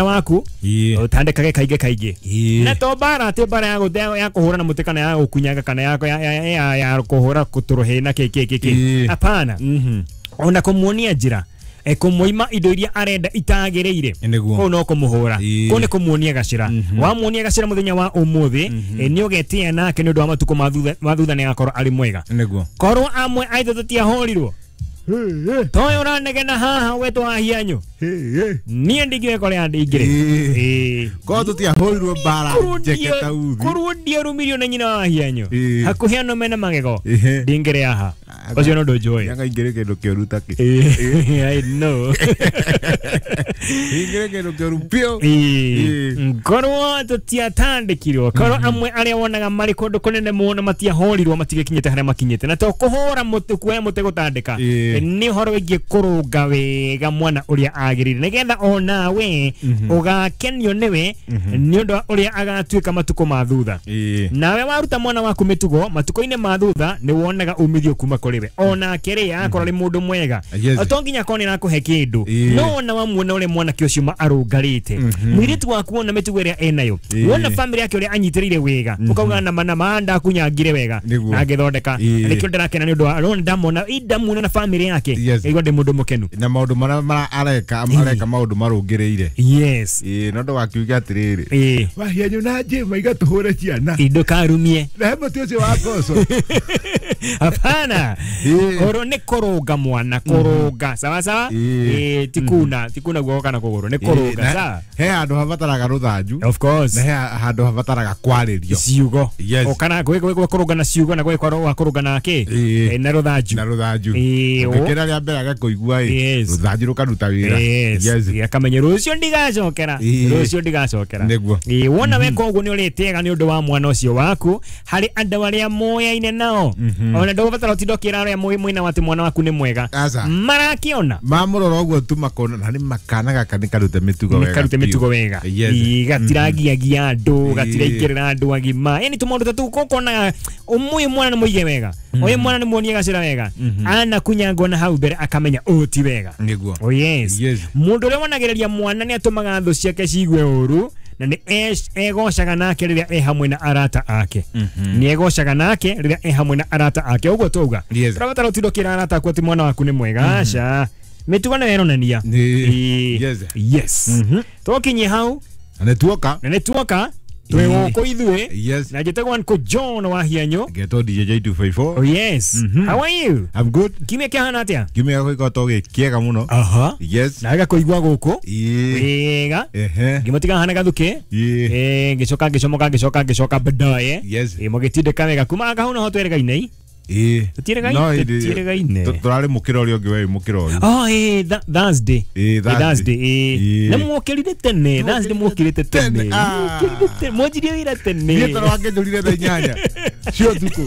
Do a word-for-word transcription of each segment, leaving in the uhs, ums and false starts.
Waku utandekage kaingĩ kaingĩ na to mbara atĩ mbara ya gũte ya kũhũra na mũtĩ kana ya gũkunyaga kana ya ya ya kũhũra kũtũrũhĩ na kĩ kĩ kĩ hapana ona kũmuonia njĩra kũmũima indo iria arenda itagĩrĩire kũu no kũmũhũra kũu nĩ kũmuonia gacĩra wamuonia gacĩra mũthenya wa ũmũthĩ nĩ ũgetĩa nake nĩ ũndũ wa matukũ ma thutha nĩ agakorwo arĩ mwega korwo amwe aitũ tũtiahũrirwo toyo ũranegena haha wetwo wahianyu niĩ ndingĩũĩ kũrĩa ndingĩrĩ korwo tũtiahũrirwo mbara njeke ta uthi korwo ndiarumirio nĩ nyina wa wahianyu hakuhĩ ano mena magego ndingĩrĩ haha ũcio no ũndũ njũĩ yanga ingĩrĩ kĩndũ kĩũru ta kĩ I know ingĩrĩ kĩndũ kĩũru biũ korwo tũtiatandĩkirwo korwo amwe arĩa wonaga marĩ kũndũ kũnene mũno matiahũrirwo matigĩkinyĩte harĩa makinyĩte na to kũhũra mũtĩ kuoya mũtĩ gũtandĩka nĩ ũhoro wĩgiĩ kũrũnga wega mwana ũrĩa agĩrĩire nĩgetha onawe ũgakenio nĩwe nĩ ũndũ wa ũrĩa agatuĩka matukũ ma thutha nawe waruta mwana waku mĩtugo matukũ-inĩ ma thutha nĩ wonaga umithio kuma kũrĩ we onake rĩ akorwo arĩ mũndũ mwega to nginya akorwo nĩ arakũhe kĩndũ no ona wamuona ũrĩa mwanake ũcio arũngarĩte mũirĩtu waku wona mĩtugo ĩrĩa enayo wona famĩlĩ yake ũrĩa anyitĩrĩire wega ũkauga nama nama ndakunyangire wega na ngĩthondeka nĩkĩo ndĩrakena nĩ ũndũ wa ndamona ndamuona na famĩlĩ yake igua ndĩ mũndũ mũkenu na maũndũ marĩa areka areka maũndũ marũngĩrĩire yes ĩĩ no ndũgakiuge atĩrĩrĩ wahianyu na njĩma igatũhũre ciana ndũkarumie na he mũtĩ ũcio wa ngoco hapana oro nĩ kũrũnga mwana kũrũnga sawa sawa ĩĩ ti kuna ti kuna guoko kana kũgũrũ nĩ kũrũnga sawa he handũ habataraga rũthanju of course na he handũ habataraga kwarĩrio ciugo o kana gwĩ kũrũnga na ciugo na gwĩ kũrũnga na kĩ na rũthanju na rũthanju ũngĩkĩra rĩa mbere agakũigua ĩ rũthanju rũkaruta wĩra yes akamenya rũciũ ndigacokera rũciũ ndigacokera nĩguo ĩĩ wona weka ũguo nĩ ũrĩtĩaga nĩ ũndũ wa mwana ũcio waku harĩ andũ arĩa moyaine nao ona ndũgũbatara ũtinda ũkĩra arĩa mwĩna atĩ mwana waku nĩ mwega marakĩona mamũrora ũguo tu makona na nĩ makana gaka nĩ karute mĩtugo wega nĩ karute mĩtugo wega ĩĩ gatiragiagia andũ gatiraingĩrĩra andũ agima yani tũmaũndũ ta tũu ũkonaga ũyũ mwana nĩ mũige wega ũyũ mwana nĩ muonie gacĩra wega anakunyangwo na hau mbere akamenya ũũ ti wega nĩguo oh yes mũndũ ũrĩa wonagĩrĩria mwana nĩ atũmaga thũ ciake ciigue ũru na nĩ egocaga nake rĩrĩa e hamwe na arata ake nĩ egocaga nake rĩrĩa e hamwe na arata ake ũguo twauga tũrabatara ũtinda ũkĩra arata aku atĩ mwana waku nĩ mwega aca mĩtugo nĩyo ĩronania yes tũkinyie hau na nĩ tuoka na nĩ tuoka twĩ gũkũ ithuĩ na njĩtagwo Uncle John wa Hianyu ngetwo D J J two five four oh yes how are you I'm good kiumia kĩhana atĩa kiumia gĩkoretwo gĩ kĩega mũno aha yes na gakũigua gũkũ wega ngĩmũtiga hana gathukĩ ĩĩ ngĩcoka ngĩcomoka ngĩcoka ngĩcoka baadaye ĩĩ mũgĩtindĩka wega kuma hau noho tweregaine ĩĩ tũtiĩregaine tũtiĩregaine tũrarĩ mũkĩra ũrĩa ũngĩ we mũkĩra ũyũ oh ĩĩ Thursday ĩĩ Thursday ĩĩ na mwokĩrire tene Thursday mwokĩrĩte tene mwokĩrire tene mwanjirie wĩra tene niĩ tondũ wakĩnjũrire thaa inyanya cia ũtukũ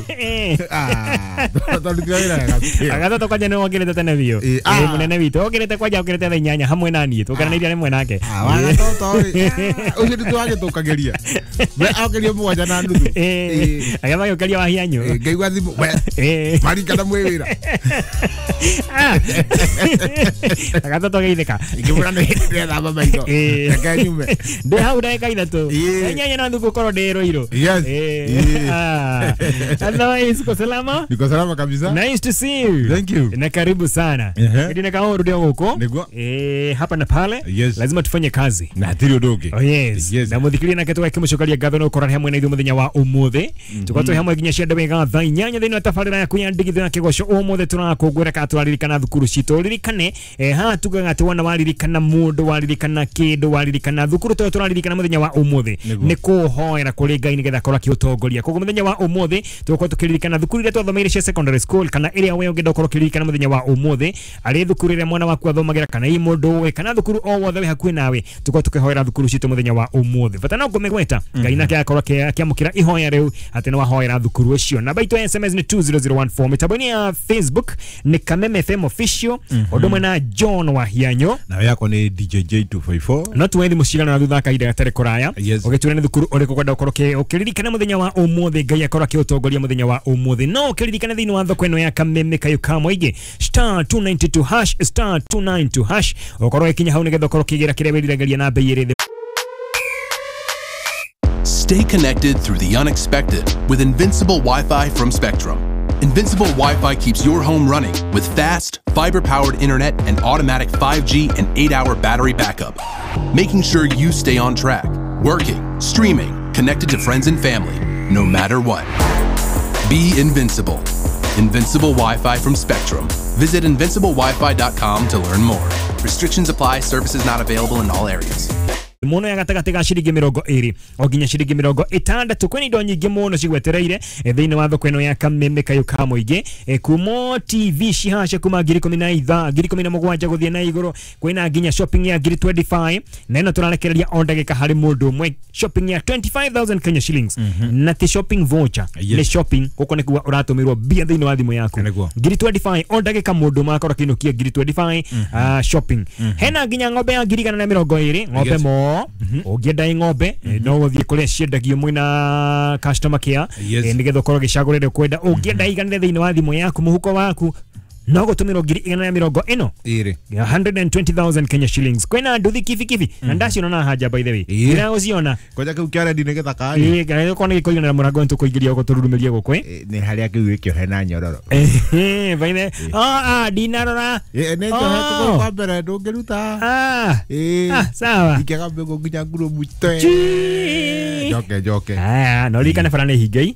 twarutire wĩra wega agathatũ kwanja nĩ wokĩrĩte tene biũ ĩĩ mũnene witũ okĩrĩte kwanja okĩrĩte thaa inyanya hamwe na niĩ tũkeranĩirie rĩmwe nake wagatota rĩ ũcio nĩ tũragĩtũkagĩria we okĩrio mũgwanja na nuthu agĩtha gĩũkĩria wahianyu ngaigua thimũ we marikana mwĩ wĩra agathatũ geithĩka ngĩmwĩra nĩ hĩndĩ ndĩrethamba maitho reke nyume ndĩ hau ndagĩka ithatũ inyanya na nuthu ngũkorwo ndĩ Ruiru otherwise uko salama niko salama kabisa nice to see you thank you na karibu sana hadi na kaoru ndio huko eh hapa na pale lazima tufanye kazi na hatirĩ ũndũ ũngĩ oh yes na mũthikĩrĩria nake tũgakĩmũcokeria ngatho no ũkorwo hamwe na ithuĩ mũthenya wa ũmũthĩ tũkorwo twĩ hamwe nginya cia wega thaa inyanya thĩinĩ wa tabarĩra yaku ya ndigithũ ya kĩgoco ũmũthĩ tũrakũngũĩra kana tũraririkana thukuru citũ ririkane eh haha tugaga atĩ wona waririkana mũndũ waririkana kĩndũ waririkana thukuru tũrĩa tũraririkana mũthenya wa ũmũthĩ nĩ kũhoera kũrĩ Ngai nĩgetha akorwo akĩũtongoria koguo mũthenya wa ũmũthĩ tũgũkorwo tũkĩririkana thukuru iria twathomeire cia secondary school kana ĩrĩa we ũngĩenda ũkorwo ũkĩririkana mũthenya wa ũmũthĩ arĩ thukuru ĩrĩa mwana waku athomagĩra kana ĩ mũndũ ũĩ kana thukuru o wothe wĩ hakuhĩ nawe tũkorwo tũkĩhoera thukuru citũ mũthenya wa ũmũthĩ bata no kũmĩgweta Ngai nake akorwo akĩamũkĩra ihoya rĩu atĩ nĩ wahoera thukuru ũcio namba itũ ya S M S nĩ two zero zero one four mĩtambo-inĩ ya Facebook nĩ Kameme F M official ũndũ ũmwe na John Wahianyo nawe yakwa nĩ D J J two five four no tuwe thimũ cigana na thutha kahinda gatarĩ kũraya ũgĩtwĩra nĩ thukuru ũrĩkũ kwenda ũkorwo ũkĩririkana mũthenya wa ũmũthĩ Ngai akorwo akĩũtongoria mũthenya wa ũmũthĩ no ũkĩririkana thĩinĩ wa thoko ĩno ya Kameme kayũ ka mũingĩ star two nine two hash star two nine two hash ũkorwo ũgĩkinya hau nĩgetha ũkorwo ũkĩgĩra kĩrĩa wĩriragĩria na bei ĩrĩ thĩ. Stay connected through the unexpected with Invincible Wi-Fi from Spectrum. Invincible Wi-Fi keeps your home running with fast, fiber-powered internet and automatic five G and eight hour battery backup, making sure you stay on track, working, streaming, connected to friends and family, no matter what. Be invincible. Invincible Wi-Fi from Spectrum. Visit invincible wifi dot com to learn more. Restrictions apply. Services not available in all areas. Muno ya gatagati ga ciringi mirongo iri o nginya ciringi mirongo itandatu kwina indo nyingi muno cigwetereire thiini wa thoko ino ya Kameme kayo ka muingi kumo T V cihace kuma ngiri ikumi na itha ngiri ikumi na mugwanja guthie na iguru kwina nginya shopping ya ngiri twenty-five na ino turarekereria o ndagika hari mundu umwe shopping ya twenty-five thousand Kenya shillings mm -hmm. na ti shopping voucher yes. Ni shopping guko ni kuga uratumirwo mbia thiini wa thimu yaku ngiri twenty-five o ndagika mundu umwe akorwo akiinukia ngiri twenty-five mm -hmm. uh, shopping mm -hmm. Hena nginya ng'ombe ya ngiri igana na mirongo iri ng'ombe yes. Mo ũngĩenda ng'ombe no ũthiĩ kũrĩa ciendagio mwĩna customer care nĩgetha ũkorwo ũgĩcagũrĩra kwenda ũngĩenda iganĩre thĩinĩ wa thimũ yaku mũhuko waku no gũtũmĩrwo ngiri igana na mĩrongo ĩno one hundred and twenty thousand Kenya shillings kwĩna nduthi kibikibi na ndaciona na haja by the way ndĩragũciona kwanja kĩu kĩa rendi nĩ gĩthaka ĩ kana gĩkorwo nĩ gĩkũiganĩra mũrango nĩtũkũingĩria gũkũ tũrurumĩrie gũkũ ĩ nĩ harĩa kĩu gĩkĩohe na nyororo eh by the ah ah ndinarora ĩ nĩ njohe kũgũrũ kwa mbere ndũngĩruta ah ĩ sawa ikĩaga mbĩgũ nginya ngurubu twe njoke njoke ah no ririkane bara nĩ hingei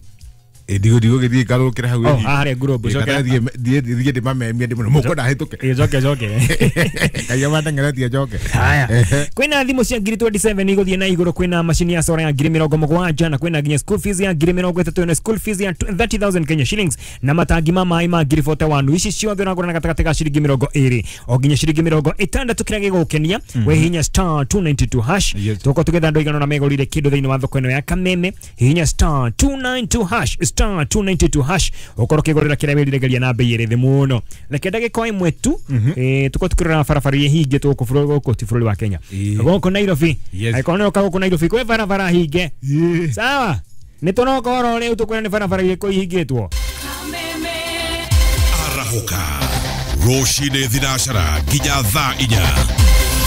ndigo ndigo githie ngarũrũkĩra hau oh haria ngurubu coke thiĩ thiĩ ndĩmamemie ndĩmwĩre mũkwenda hĩtũke ĩ coke coke kaiya mandengeretie njoke haya kwĩna thimũ cia ngiri twenty-seven igũthiĩ na igũrũ kwĩna macini ya sora ya ngiri mĩrongo mũgwanja na kwĩna nginya school fees ya ngiri mĩrongo ĩtatũ na school fees ya thirty thousand Kenya shillings na matangi ma maĩ ma ngiri forty-one ici ciothe ũragũra na gatagatĩ ga ciringi mĩrongo ĩrĩ o nginya ciringi mĩrongo ĩtandatũ kĩrĩa gĩgũkenia wĩhihinya star two ninety-two hash tũgũkorwo tũgĩetha andũ aigana ũna megũrire kĩndũ thĩinĩ wa thoko ĩno ya Kameme hihinya star two ninety-two hash star two ninety-two hash ukorwo ukigurira kiria wiriregeria na bei iri thi muno reke ndagika imwe tu eh tuko tukirora barabara iria hinge tuko bũrũri gũkũ ti bũrũri wa Kenya gũkũ Nairobi angĩkorwo nĩ ũka gũkũ Nairobi kwĩ barabara hinge sawa nĩ tũroka oro rĩu tũkwĩra nĩ barabara irĩkũ ihingĩtwo Arahũka rũcinĩ thinacara nginya thaa inya.